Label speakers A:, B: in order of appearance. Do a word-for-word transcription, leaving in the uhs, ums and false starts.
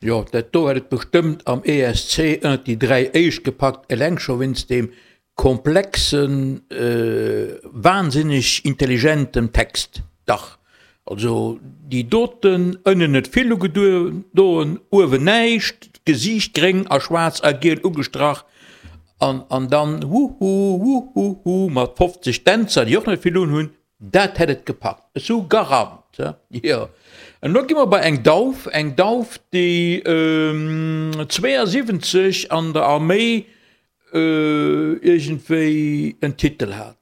A: Jo, dat do hätt et bestëmmt am E S C ënnert déi dräi éischt gepackt, eleng scho wéinst deem komplexen, wahnsinneg intelligentem Text. Dach, also déi doten, ënnen net vill ugedoen, uewen näischt, d'Gesiicht gréng a schwaarz a giel ugestrach an an dann wuhu, wuhuhu mat fofzeg Dänzer, déi och net vill unhunn, dat hätt et gepackt. Ech sou Garant, jo. An elo gi mer bei eng Dauf, eng Dauf, déi zweeënsiwwenzeg an der Arméi iergendwéi en Titel hat.